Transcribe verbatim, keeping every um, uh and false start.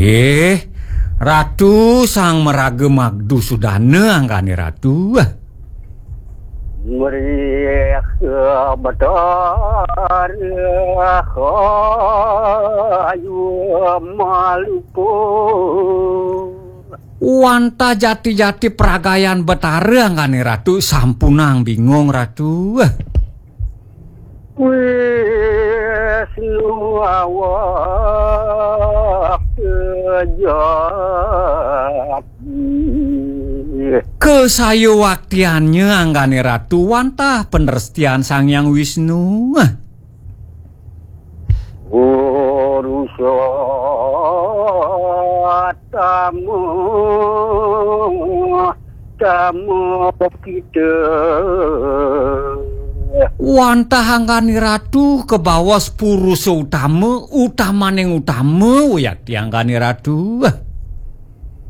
Eh, Ratu sang maraga magdu sudana anggane Ratu. Mrih Betara ayu maluku. Wantah jati-jati pragayan Betara anggane Ratu sampunang bingung Ratu. Wisnu awak kejati. Kesayuwaktiannya anggane Ratu wantah penrestian Sang Hyang Wisnu. Purusa tamu tamu kita. Wantah anggane Ratu kebaos purusa utama, utamaning utama, wayakti anggane Ratu.